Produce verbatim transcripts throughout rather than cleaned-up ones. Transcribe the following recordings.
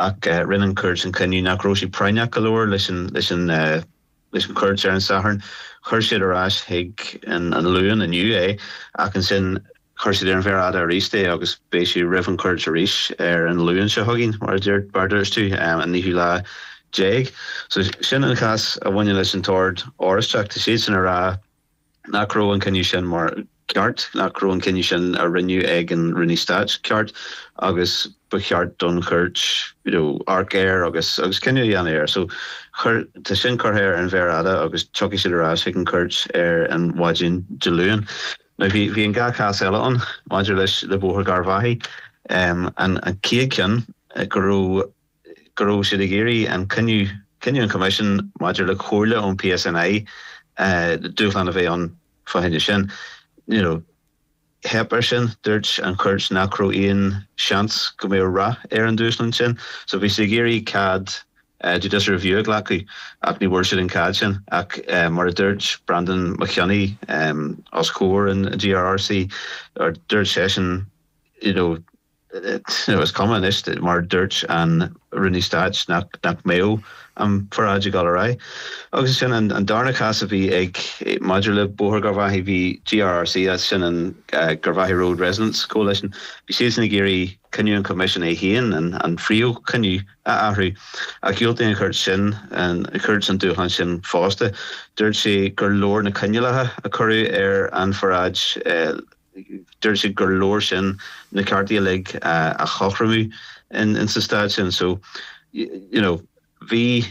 Ach rinne an chúirt an cinneadh nach raibh sé práinneach go leor leis an leis an leis an chúirt ar an Satharn. Chuir siad ar ais chuig an an Luan inniu é ach ansin chuir siad ar an mhéar fhada arís é agus beidh sé roimh an chúirt arís ar an Luan seo chugainn mar mar a dúirt tú an naoú lá déag. So sin an cás a bhaineann leis an tOrd Oráisteach tá siad sin ag rá nach raibh an cinneadh sin mar ceart nach raibh an cinneadh sin a rinneadh ag an Rúnaí Stáit ceart agus ba cheart don chúirt you know, amharc air agus agus cinneadh a dhéanamh air. So chuir tá sin curtha ar an mhéar fhada agus tiocfaidh siad ar ais chuig an chúirt ar an mhaidin Dé Luain. Now bhí bhí an dhá chás eile ann maidir leis le Bóthar Gharbhachaidh um, an an chéad cheann go raibh go raibh siad ag iarraidh an cinneadh cinneadh an Coimisiún maidir le comhairle ón PSNI uh, dúshlán a bheith ann fá choinne sin. You know, theip air sin dúirt an chúirt nach raibh aon seans go mbeadh rath ar an dúshlán sin, so bhí siad ag iarraidh cead uh, judicial review a ghlacadh ach ní bhfuair siad an cead sin ach uh, mar a dúirt Brandon Mac Cionnaith um, os comhair an GRRC or dúirt seisean you know, you know, is cuma anois mar dúirt an Rúnaí Stáit nach nach mbeadh an pharáid ag dul ar aghaidh. Agus sin an, an darna cás a bhí ag maidir le Bóthar Gharbhachaidh bhí GRRC as sin an uh, Garvaghy Road Residents Coalition. Bhí siad ag iarraidh cinneadh an Coimisiún é féin an, an phríomhchinneadh a athrú. A dhiúltaigh an chúirt sin an chúirt an dúshlán sin fosta. Dúirt sé gur leor na coinníollacha a cuireadh ar an pharáid uh, dúirt sé gur leor sin na cearta uilig uh, a chothromú in, in sa staid sin so you know bhí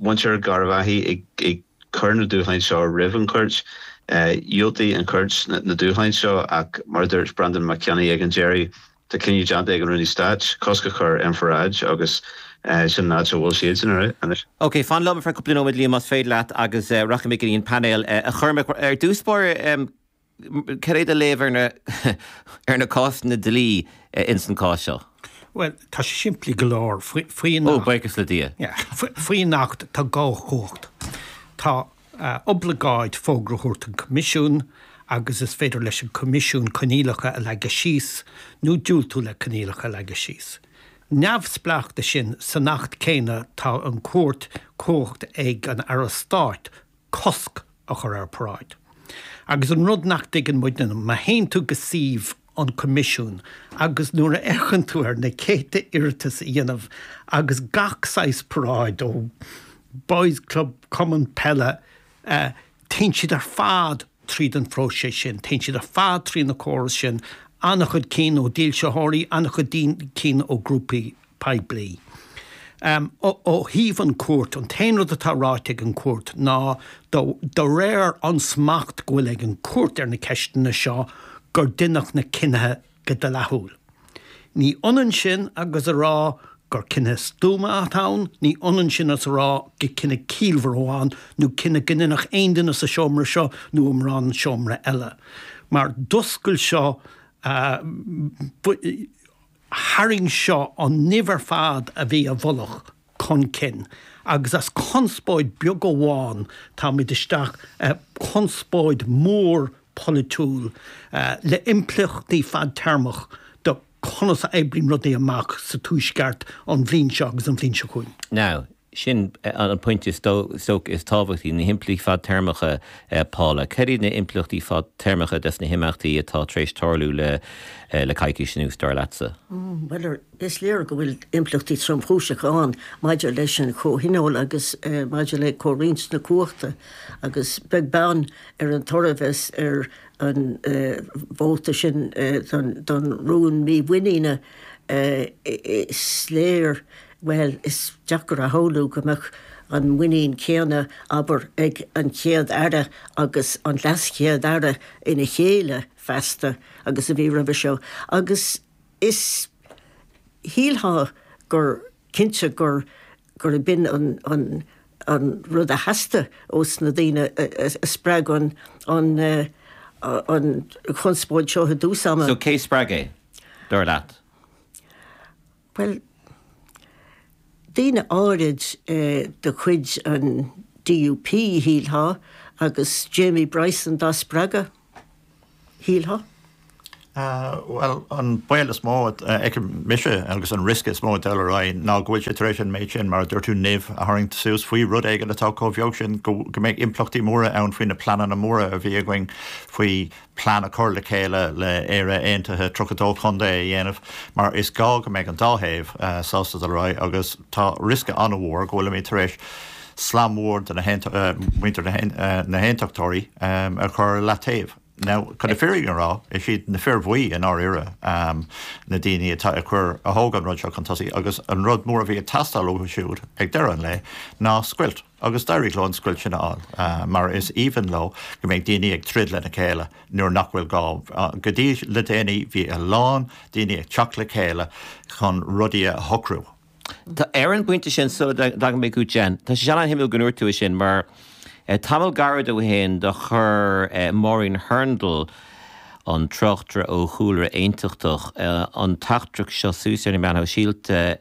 muintir Gharbhachaidh ag, ag cur na dúshláin seo roimh an chúirt dhiúltaigh an chúirt na, na dúshláin seo ach mar dúirt Brandon Mac Cionnaith ag an deireadh tá cinneadh déanta ag an Rúnaí Stáit cosc a chur ar an pharáid agus uh, sin an áit a bhfuil siad sin anois. Ok, fan liom ar cúpla nóiméad Liam más féidir leat agus uh, rachaidh mé go dtí an painéal uh, a chur ar dtús um, céard do léamh ar na ar na cásanna dlí uh, ins an cás seo. Well, tá sé simplí go leor faoin Ó buíochas le Dia. Faoin Acht tá dhá chumhacht. Tá uh, obligáid fógra a thabhairt an Coimisiún agus is féidir leis an Coimisiún coinníollacha a leagan síos nó diúltú le coinníollacha a leagan síos. Neamhspleách de sin san Acht céanna tá an cúirt cumhacht ag an Aire Stáit cosc a chur ar paráid. Agus an rud nach dtuigeann muidne má théann tú go suíomh an Coimisiún agus nuair a fhéachann tú ar na céadta iarratas a dhéanamh agus gach saghas paráid ó Boys Club Cumann Peile uh, téann siad ar fad tríd an phróiseas sin, téann siad ar fad trí na córas sin, an-chuid cinn ó dhílseoirí, an-chuid cinn ó grúpaí poiblí. Um, ó, ó thaobh an chúirt an t-aon rud atá ráite ag an cúirt ná do réir an smacht go bhfuil ag an cúirt ar na ceisteanna seo gur deineadh na cinnithe go dleathúil. Ní ionann sin agus a rá gur cinneadh stuama atá ann, ní ionann sin is a rá gur cinneadh ciallmhar amháin nó cinneadh go ndéanfadh aon duine sa seomra seo nó i mórán seomra eile. Mar d'oscail seo uh, tharraing seo an nimh ar fad a bhí i bhfolach chun cinn. agus as conspóid beag amháin táimid isteach uh, conspóid mór polaitiúil uh, le impleachtaí fadtéarmach do conas a oibríonn rudaí amach sa tuaisceart an bhliain seo agus an bhliain seo chugainn. Now, sin an pointe is dócha is tábhachtaí na himpleachtaí fadtéarmacha Paula. Cad iad na himpleachtaí fadtéarmacha des na himeachtaí atá tar éis tarlú le le coicís anuas dar leatsa. Mm, well is léir go bhfuil impleachtaí tromchúiseacha ann maidir leis an chomhthionól agus uh, maidir le comhroinnt na cumhachta agus beag beann ar an toradh ar an uh, vóta sin uh, don, don rún mímhuiníne uh, is léir well is deacair a shamhlú go mbeadh an muinín céanna abair ag an chéad aire agus an leaschéad aire ina chéile feasta agus a bhí roimhe seo agus is shílfeá gur cinnte gur gur b'in an, an, an rud a theastaigh ós na daoine a spreag an an, an chonspóid seo i dtús ama. So cé spreag é dar leat? Well, daoine áirid eh, de chuid an DUP shílfeá agus Jamie Bryson dá spreagadh shílfeá. Bhuel, an baol is mó a fheicim mise agus an riosca is mó ag dul ar aghaidh ná go bhfuil sé tar éis an méid sin, mar a dúirt tú, nimh a tharraingt suas faoi rud éigin atá chomh beag sin go mbeidh impleachtaí móra ann faoi na pleananna móra a bhí againn faoi plean a chur le chéile le Éire Aontaithe tríocha dó chontae a dhéanamh mar is gá go mbeidh an dá thaobh sásta dul ar aghaidh agus tá riosca an-mhór go bhfuilimid tar éis slam mór de na muintir na hAontachtóirí a chur leataobh. Now, chun na fírinne a rá, is iad na fir bhuí i ndáiríre na daoine atá ag cur, a thóg an rud seo chun tosaigh agus an rud mór a bhí ag teastáil uathu siúd ag deireadh an lae ná scoilt agus d'éirigh leo an scoilt sin a fháil mar is aoibhinn leo go mbeidh daoine ag troid lena chéile nuair nach bhfuil gá. Go dtí le déanaí bhí a lán daoine ag teacht le chéile chun rudaí a shocrú. Ar an bpointe sin, sula dtagann mé chugat Jen, tá sé an-shuimiúil go ndúirt tú é sin mar tamall gairid ó shin do chuir Maureen Hurndall, an tráchtaire ó chúlra aontachtach, an teachtaireacht seo suas ar na meáin shóisialta,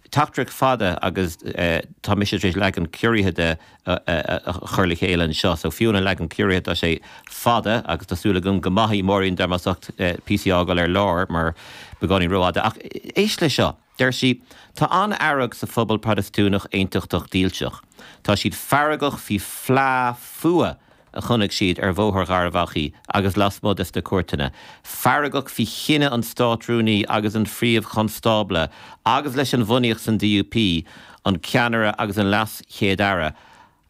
teachtaireacht fada agus tá mise tar éis leagan ciorraithe de a chur le chéile anseo. So fiú an leagan ciorraithe tá sé fada agus tá súil agam go maithfidh Maureen dom as ucht píosaí a fhágáil ar lár mar beagáinín rófhada. Ach éist le seo, deir sí, Tá an-fhearg sa phobal Protastúnach Aontachtach Dílseach. Tá siad feargach faoi phlá fuath a chonaic siad ar Bhóthar Gharbh Achaidh agus lasmuigh des na cúirteanna, feargach faoi chinneadh an Státrúnaí agus an Phríomh-Chonstábla agus leis an bhunaíocht san DUP, an ceannaire agus an Leas-Chéad-Aire.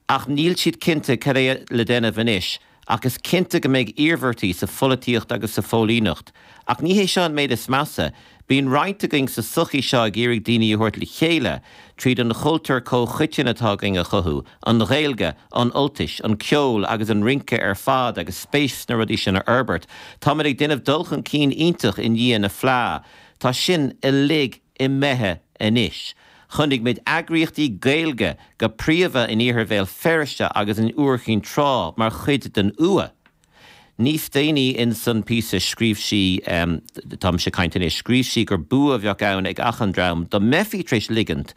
Ach níl siad cinnte cad é le déanamh anois. Ach is cinnte go mbeidh iarmhairtí sa pholaitíocht agus sa phóilíneacht. Ach ní hé seo an méid is measa. Bíonn roinnt againn sa tsochaí seo ag iarraidh daoine a thabhairt le chéile tríd an chultúr comhchoiteann atá againn a chothú, an Ghaeilge, an Ultais, an ceol agus an rince ar fad agus spéis sna rudaí sin a fhorbairt. Táimid ag déanamh dul chun cinn iontach i ndiaidh na phlá. Tá sin uilig imithe anois. Chonaic muid eagraíochtaí Gaeilge, go príomha in iarthar Bhéal Feirste agus in Iúr Chinn Trá, mar chuid den fhuath. Níos déanaí ins an píosa scríobh sí, tá mise ag caint anois, scríobh sí gur bua a bheadh ann ag achan dream dá mbeifí tar éis ligint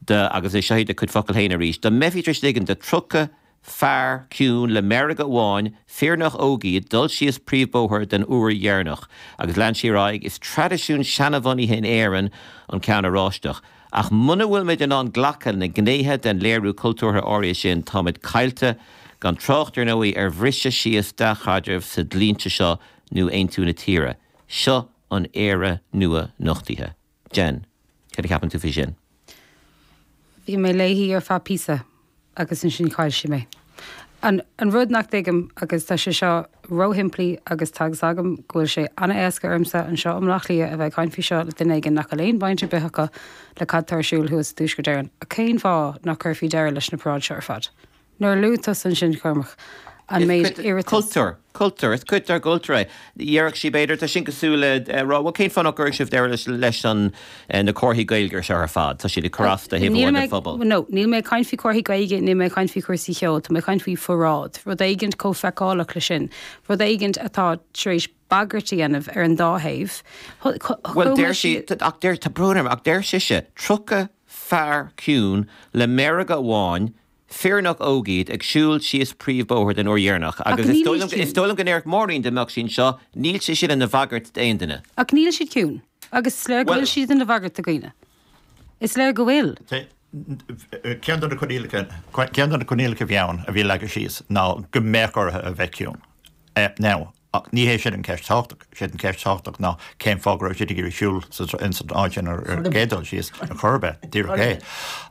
do, agus seo iad a cuid focal féin arís, dá mbeifí tar éis ligint do tríocha fear ciúin le meirge amháin, fir nach óg iad, dul síos príomhbhóthar den uair dheireanach. Agus lean sí ar aghaidh, Is traidisiún seanbhunaithe in Éirinn an ceann oráisteach. Ach muna bhfuil muid in ann glacadh le gnéithe den léiriú cultúrtha áirithe sin, táimid caillte, gan trácht ar ndóigh ar bhriseadh síos dea-chaidrimh sa dlínse seo nó aontú na tíre. Seo an Éire nua nochtaithe. Jen, cad a cheapann tú faoi sin? Bhí mé léi ar feadh píosa agus ansin chaill sí mé. An an rud nach dtuigim, agus tá sé seo róshimplí agus tá fhios agam go bhfuil sé an-éasca ormsa anseo i mBaile Átha Cliath a bheith ag caint faoi seo le duine éigin nach bhfuil aon bhaint ar bith acu le cad tá ar siúl thuas i dTuaisceart Éireann, ach cén fáth nach gcuirfí deireadh leis na paráid seo ar fad? Nuair a luaigh tusa ansin, Cormac, an méid iarratas. Cultúr. Cultúr. Is cuid dár gcultúr é. Déarfadh sí, b'fhéidir, tá sin cosúil le rá, bhuel, cén fáth nach gcuirfidh sibh deireadh leis an na comharthaí Gaeilge seo ar fad? Tá siad ag cur as do thaobh amháin den phobal. No, níl mé ag caint faoi chomharthaí Gaeilge, níl mé ag caint faoi chúrsaí ceoil, tá mé ag caint faoi pharáid, rud éigint chomh feiceálach leis sin, rud éigint atá tar éis bagairt a dhéanamh ar an dá thaobh. Bhuel, deir sí, ach deir, tá brón orm, ach deir sise, tríocha fear ciúin le meirge amháin, Fir nach óg iad, ag siúl síos príomhbhóthar den uair dheireanach, agus is dóigh liom, is dóigh liom go ndéarfadh Maureen dá mbeadh sí anseo, níl sé sin ina bhagairt d'aon duine. Ach níl siad ciúin. Agus is léir go bhfuil siad ina bhagairt do dhaoine. Is léir go bhfuil. Ceann de na coinníollacha, ceann de na coinníollacha a bhí ann, a bhí leagtha síos, ná go mbeadh orthu a bheith ciúin. Now, Ach ní hé sin an cheist thábhachtach. Sé an cheist thábhachtach ná cén fáth go raibh siad ag iarraidh siúl ins an áit sin ar an gcéad dul síos, ar chor ar bith, díreach é.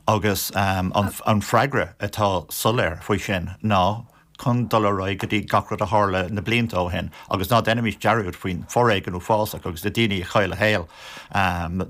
Agus an freagra atá soiléir faoi sin ná chun dul ar aghaidh go dtí gach rud a tharla na blianta ó shin agus ná déanaimis dearúd faoin foréigean uafásach agus na daoine a chaill a shaol. An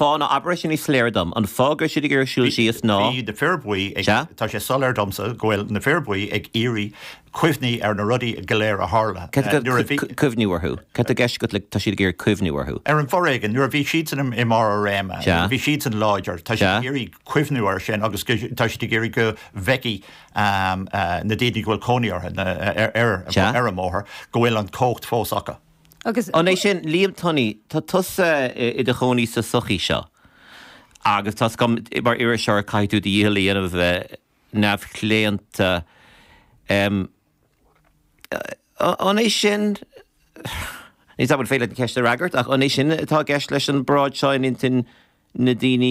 fáth ná, abair é sin níos soiléire dom, an fáth go raibh siad ag iarraidh siúl síos ná. Bhí na fir buí ag, tá sé soiléir domsa go bhfuil na fir buí ag iarraidh cuimhní ar na rudaí go léir a tharla nuair a bhí. Cuimhniú orthu. Cad tá i gceist agat le tá siad ag iarraidh cuimhniú orthu? Ar an bhforéigean, nuair a bhí siadsan i mbarr a réime, nuair a bhí siadsan láidir, tá siad ag iarraidh cuimhniú air sin agus tá siad ag iarraidh go bhfeicfidh na daoine go bhfuil cónaí orthu ar an mbóthar go bhfuil an chumhacht fós acu. Agus. An é sin, Liam Tunney, tá tusa i do chónaí sa tsochaí seo agus tá 's agam mar iriseoir caithfidh tú do dhícheall a dhéanamh a bheith neamhchlaonta. An é sin, Ní bhfuil féidir an cheist a fhreagairt ach an é sin atá i gceist leis an bparáid seo in intinn na daoine